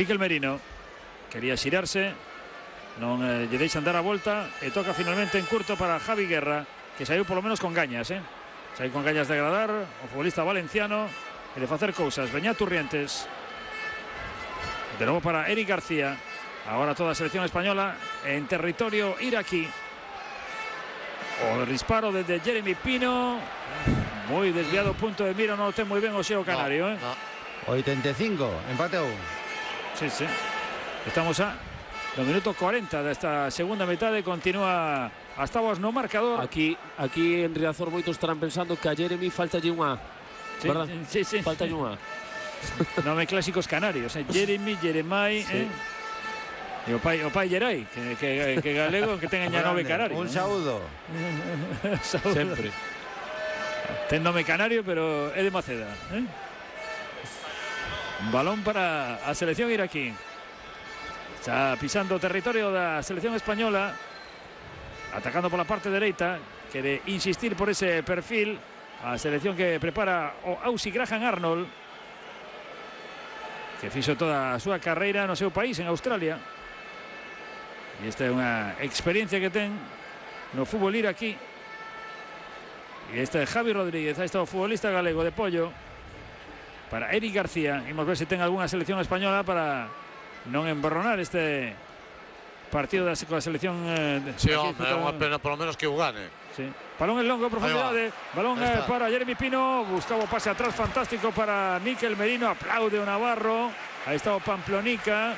Mikel Merino quería xirarse, non lle deixan dar a volta e toca finalmente en curto para Javi Guerra, que saiu polo menos con gañas, saiu con gañas de agradar o futbolista valenciano e de facer cousas. Beñat Turrientes, de novo para Eric García, agora toda a selección española en territorio iraquí. O disparo desde Jeremy Pino, moi desviado, punto de mira, non o ten moi ben o xeo canario. 85, empate a 1. Sí, sí. Estamos no minuto 40 desta segunda metade, continúa hasta vos no marcador. Aquí en Riazor moitos estarán pensando que a Jeremy faltalle unha, verdad? Sí, sí. Faltalle unha. Nome clásicos canarios, Jeremy, Jeremai, sí. E o pai Gerai, que galego, que ten ya nome canario. Un saúdo. Sempre. Ten nome canario, pero é de Maceda, Balón para a selección iraquí. Está pisando o territorio da selección española, atacando por la parte dereita, quere insistir por ese perfil a selección que prepara o Aussie Graham Arnold, que fixo toda a súa carreira no seu país, en Australia, e esta é unha experiencia que ten no fútbol iraquí. E este é Javi Rodríguez, aí está o futbolista galego de Pollo para Eric García. Imos ver se ten algunha selección española para non emborronar este partido da selección. Sí, hombre, é unha pena polo menos que o gane. Sí. Balón en longo, profundidade. Balón para Jeremy Pino. Gustavo, pase atrás fantástico para Mikel Merino. Aplaude o Navarro. Aí está o Pamplonica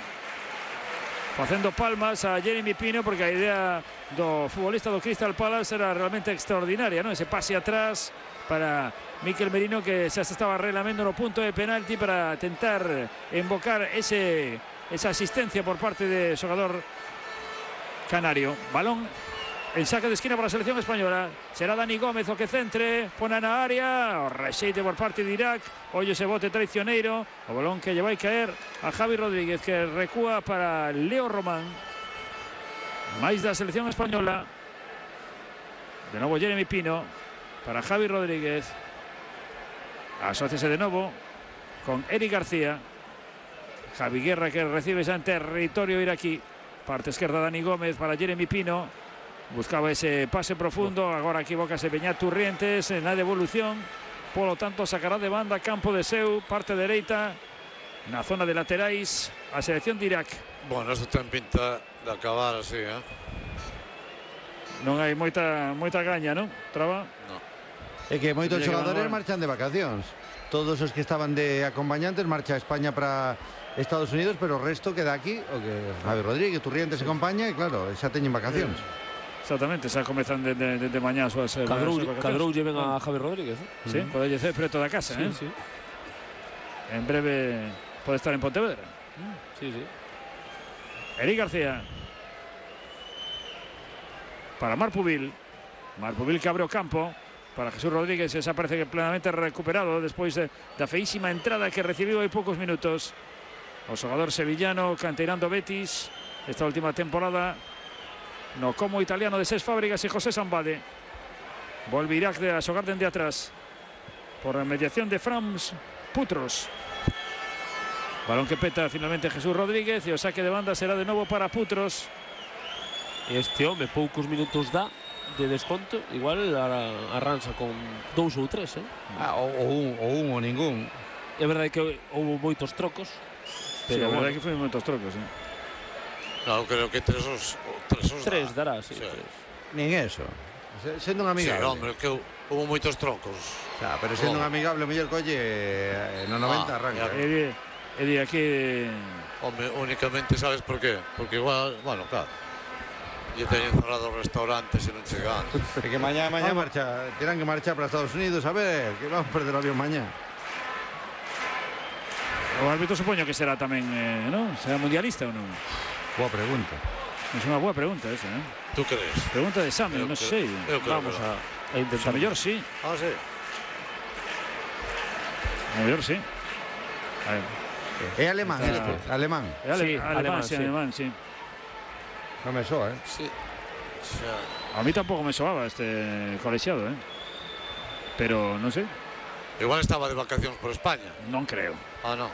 facendo palmas a Jeremy Pino, porque a idea do futbolista do Crystal Palace era realmente extraordinaria, non? Ese pase atrás para Mikel Merino, que xa se estaba relamendo no punto de penalti para tentar invocar esa asistencia por parte de xogador canario. Balón en saque de esquina para a selección española. Será Dani Gómez o que centre, pone na área, o rexeite por parte de Irak. Ollo ese bote traicioneiro, o balón que lle vai caer a Javi Rodríguez, que recúa para Leo Román. máis da selección española. De novo Jeremy Pino para Javi Rodríguez. Asóciase de novo con Eric García. Javi Guerra, que recibe xa en territorio iraquí. Parte esquerda Dani Gómez para Jeremy Pino. Buscaba ese pase profundo. Agora equivocase Beñat Turrientes en la devolución. Por lo tanto sacará de banda campo de seu, parte dereita, na zona de laterais, a selección de Irak. Bueno, isto ten pinta de acabar así, Non hai moita gaña, non? Traba? No. É que moitos xogadores marchan de vacacións. Todos os que estaban de acompañantes marcha a España para Estados Unidos, pero o resto queda aquí, o que Javi Rodríguez, Turrientes se acompaña, e claro, xa teñen vacacións. Exactamente, xa comezan de mañá as súas Cadrou lle ven a Javi Rodríguez, Sí, pode ser preto da casa, sí. En breve pode estar en Pontevedra. Sí. Eric García para Marpubil. Marpubil que abre o campo para Jesús Rodríguez, esa parece que plenamente recuperado despois da feísima entrada que recibiu hai poucos minutos o xogador sevillano, canteirando Betis esta última temporada no como italiano de Cesc Fábregas e José Sambade. Volve Irak a xogar dende atrás por mediación de Frans Putros. Balón que peta finalmente Jesús Rodríguez e o saque de banda será de novo para Putros. Este home poucos minutos dá de desconto, igual arranza con 2 ou 3, ou un ou ningún. É verdade que houve moitos trocos, pero sí, a verdade que foi moitos trocos, No, creo que tres dará, sí. Nin eso. Sendo un amigable. Sí, hombre, que houve moitos trocos. Xa, pero sendo un amigable, mellor colle no 90 arranca. E di aquí... Hombre, únicamente sabes por qué? Porque igual, bueno, claro, lle teñen cerrado os restaurantes e non chegan. É que mañá marcha, terán que marchar para Estados Unidos, a ver, que vamos a perder o avión mañá. O árbitro supoño que será tamén, non? Será mundialista ou non? Boa pregunta. É unha boa pregunta esa, Tú crees? Pregunta de exame, non sei. Vamos a intentar. A mellor sí. Ah, sí. A mellor sí. É alemán este, alemán. Sí, alemán, sí. Non me soa, Sí. A mí tampouco me soaba este colexiado, pero non sei. Igual estaba de vacacións por España. Non creo. Ah, non.